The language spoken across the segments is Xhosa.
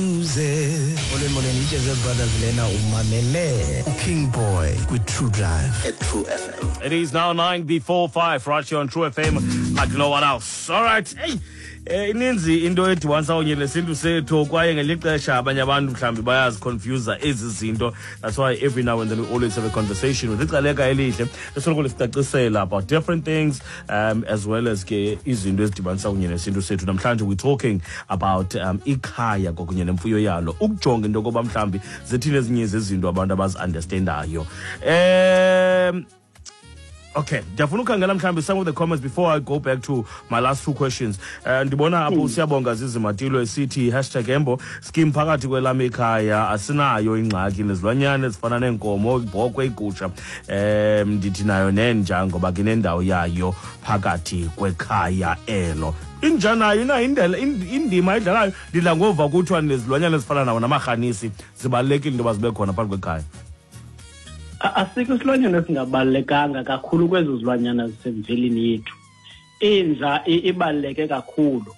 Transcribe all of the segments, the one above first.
Molweni molweni iJazz Brothers lena umamele King Boy kwi-True Drive at True FM. It is now 9 before 5 right here on True FM like no one else. All right. Hey. Eh, ininzi into edibanisa kunye nesintu sethu kwaye ngelinye ixesha abanye abantu mhlawumbi bayaziconfusa ezi zinto. That's why every now and then we always have a conversation with icaleka elihle esoloko lisicacisela about different things as well as ke izinto ezidibanisa kunye nesintu sethu. Namhlanje we're talking about ikhaya kwakunye nemfuyo yalo, ukujonga into yokoba mhlawumbi zithini ezinye zezinto abantu abazi-understandayo. Okay, ndiyafuna ukhangela mhlawumbi some of the comments before I go back to my last two questions. Ndibona apho uSiyabonga Zizimatilo esithi hashtag Embo scheme phakathi kwelam ikhaya asinayo ingxaki nezilwanyana ezifana neenkomo, ibhokhwe, igusha. Ndithi nayo nenja ngoba ke nendawo yayo phakathi kwekhaya elo. Inja nayo inayo indima edlalayo. Ndidla ngova kuthiwa nezilwanyana ezifana nawo namarhanisi zibalulekile into yoba zibe khona phakathi kwekhaya. Asikho isilwanyana esingabalulekanga kakhulu kwezo zilwanyana zisemvelini yethu. Inja ibaluleke kakhulu,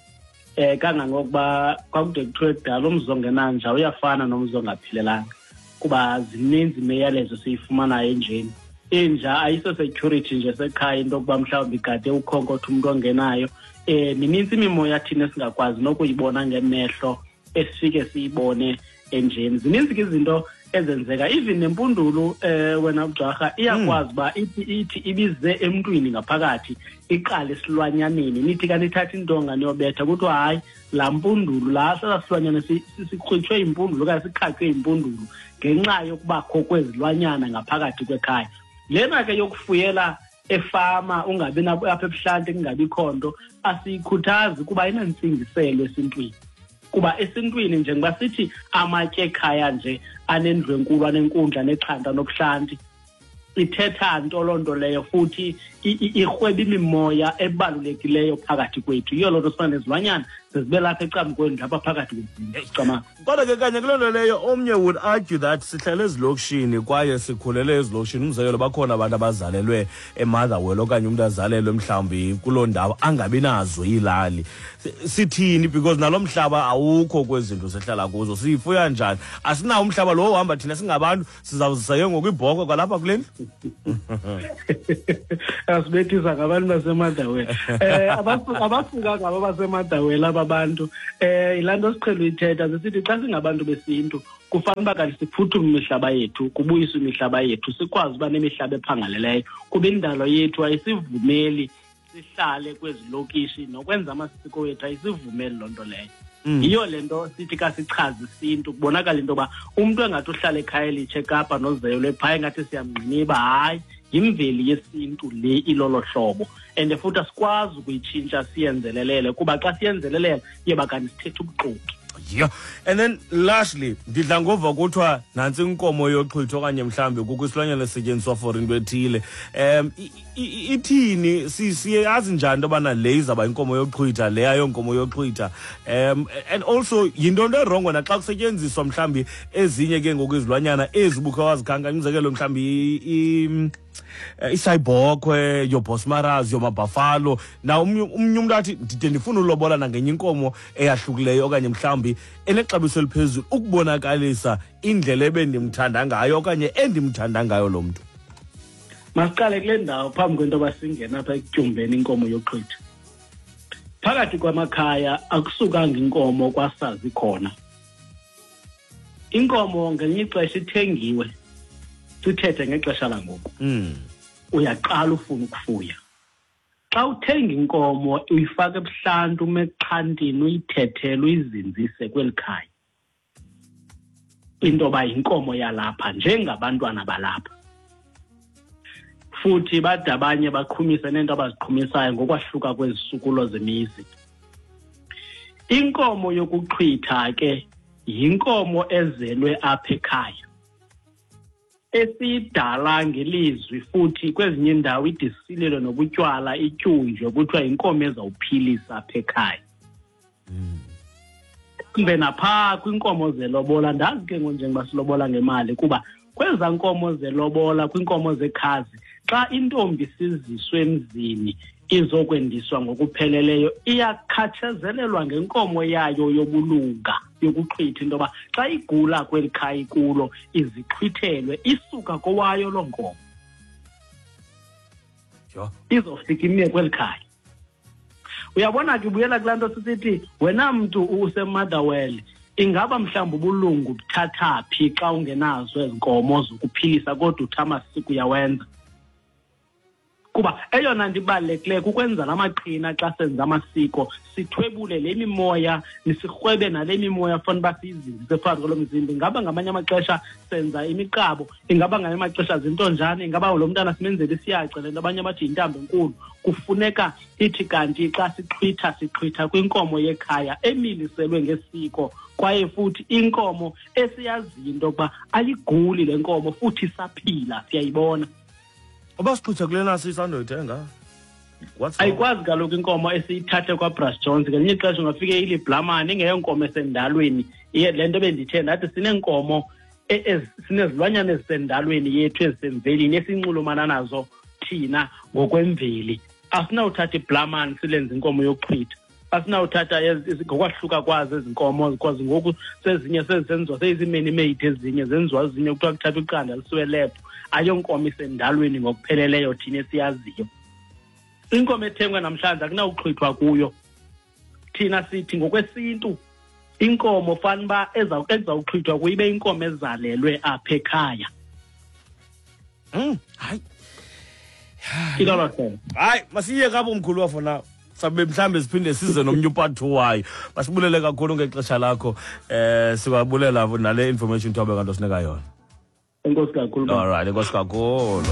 kangangokuba kwakude kuthiwe kudala umzi ongenanja uyafana nomzi ongaphilelanga, kuba zininzi imiyalezo esiyifumanayo enjeni. Inja ayiso security nje sekhaya into yokuba mhlawumbi igade ukhonkotha umntu ongenayo. Minintsi imimoya thina esingakwazi nokuyibona ngemehlo esifike siyibone enjeni. Zininzi ke izinto ezenzeka, even nempundulu, wena Mjwarha, iyakwazi uba ithi ibize emntwini ngaphakathi iqale esilwanyaneni, nithi kanti ithatha intonga niyobetha, kuthiwa hayi laa mpundulu laa sela silwanyana sikhutshwe impundulu okanye sikhatywe impundulu ngenxa yokubakho kwezilwanyana ngaphakathi kwekhaya. Lena ke yokufuyela efama ungabi nabo apha ebuhlanti kungabikho nto asiyikhuthazi kuba inantsingiselo esintwini. Kuba esintwini njengoba sithi amatye ekhaya nje anendlu enkulu, anenkundla, nexhanta nobuhlanti, ithetha nto loo nto leyo, futhi irhweba imimoya ebalulekileyo phakathi kwethu. Yiyo loo nto sifana nezilwanyana zezibe lapha ecamkweni lapha phakathi kwezindlu. Cama. Kodwa ke kanye kuloo nto leyo omnye would argue that sihlele ezilokishini kwaye sikhulele ezilokishini. Umzekelo, bakhona abantu abazalelwe eMotherwell okanye umntu azalelwe mhlawumbi kuloo ndawo angabi nazo iilali. Sithini? Because nalo mhlaba awukho kwezi zinto sihlala kuzo. Siyifuya njani? Asinawo umhlaba lo uhamba thina singabantu, sizawuzisa ke ngoku ibhokhwe kwalapha kule ndlu. Asibethisa ngabantu baseMotherwell. Abasuka ngabo baseMotherwell aba bantu. Yilaa nto siqhele uyithetha, sisithi xa singabantu besintu kufanele uba kanti siphuthume imihlaba yethu, kubuyiswe imihlaba yethu, sikwazi uba nemihlaba ephangaleleyo, kuba indalo yethu ayisivumeli sihlale kwezi lokishi, nokwenza amasiko wethu ayisivumeli loo nto leyo. Yiyo le nto sithi ka sichaze isintu, kubonakala into yoba umntu engathi uhlala ekhaya elitsha eKapa nozelwe phaya engathi siyamngqiniba, hayi, yimveli yesintu le ilolo hlobo. And futhi asikwazi ukuyitshintsha siyenzelelele, kuba xa siyenzelelela iyoba kanti sithetha ubuxoki. Yeah. And then lastly, ndidla ngova kuthiwa nantsi inkomo yoxhwitha okanye mhlawumbi kukho isilwanyana esisetyenziswa for into ethile. Ithini? Siyazi njani into yobana le izawuba inkomo yoxhwitha, le ayonkomo yoxhwitha? And also yinto nto erongo naxa kusetyenziswa mhlawumbi ezinye ke ngoku izilwanyana ezi ubukhe wazikhankanya, umzekelo mhlawumbi isayibhokhwe, yoobosmaras, yoomabhafalo. Na omnye umntu athi ndide ndifuna ulobola nangenye inkomo eyahlukileyo okanye mhlawumbi enexabiso eliphezulu ukubonakalisa indlela ebendimthanda ngayo okanye endimthanda ngayo lo mntu. Masiqale kule ndawo phambi kwento yoba singena apha ekutyumbeni inkomo yoxhwitha. Phakathi kwamakhaya akusukanga inkomo kwasazi khona. Inkomo ngelinye ixesha ithengiwe, sithethe ngexesha langoku. Uyaqala ufuna ukufuya. Xa uthenga inkomo uyifaka ebuhlanti, ume exhantini, uyithethele, uyizinzise kweli khaya. Into yoba yinkomo yalapha njengabantwana balapha. Futhi bade abanye baqhumise neento abaziqhumisayo ngokwahluka kwezisukulo zemizi. Inkomo yokuxhwitha ke yinkomo ezelwe apha ekhaya, esiyidala ngelizwi, futhi kwezinye iindawo idisilelwe nobutywala, ityunjwe, kuthiwa yinkomo ezawuphilisa apha ekhaya. Kumbe naphaa kwinkomo zelobola, ndazi ke ngoku njengoba silobola ngemali, kuba kwezaa nkomo zelobola, kwinkomo zekhazi, xa intombi siziswe emzini izokwendiswa ngokupheleleyo, iyakhatshezelelwa ngenkomo yayo yobulunga. yokuxhwitha into yoba xa igula kweli khaya ikulo izixhwithelwe isuka kowayo loo nkomo. Izofika ime kweli khaya. Uyabona ke, ubuyela kulaa nto sisithi wena mntu useMotherwell, ingaba mhlawumbi ubulungu buthatha phi xa ungenazo ezi nkomo zokuphilisa kodwa uthi amasiko uyawenza? Kuba eyona nto ibalulekileyo kukwenza la maqhina xa senza amasiko, sithwebule le mimoya, sirhwebe nale mimoya fanele uba siyizinzise phakathi kwalo mzimba. Ingaba ngamanye amaxesha senza imiqabo, ingaba ngamanye amaxesha zintonjane, ingaba lo mntana simenzela isiyace, le nto abanye bathi yintambo enkulu. Kufuneka ithi kanti xa sixhwitha, sixhwitha kwinkomo yekhaya emiliselwe ngesiko, kwaye futhi inkomo esiyaziyo into yokuba ayiguli le nkomo futhi isaphila, siyayibona. Uba sixhwitha kule nasi isandoyithenga, what's wrong? Ayikwazi kaloku inkomo esiyithathe kwaBrush Jones. Ngelinye ixesha ungafike iliblamane, ingeyonkomo esendalweni. Iye, le nto bendithe ndathi sineenkomo sinezilwanyana ezisendalweni yethu, ezisemvelini, esinxulumana nazo thina ngokwemveli. Asinawuthatha iblamane silenze inkomo yokuxhwitha. Asinawuthatha ngokwahluka kwazo ezi nkomo, because ngoku sezinye sezenziwa seyizii-many-made, ezinye zenziwa ezinye kuthiwa kuthathwa iqanda lisiwe lebhu. Ayonkomo isendalweni ngokupheleleyo thina esiyaziyo. Inkomo ethengwa namhlanje akunawuxhwithwa kuyo. Thina sithi ngokwesintu inkomo fanuba ezawuxhwithwa kuyo ibe inkomo ezalelwe apha ekhaya. Hayi. Ilolo hlobo. Hayi, masiye kapho mkhulu wafo na. Sabe mhlambe siphinde size nomnye upart 2 wayo. Masibulele kakhulu ngexesha lakho. Sibabulela nale information thobe kanti osinika yona. Enkosi kakhulu. All right, enkosi kakhulu.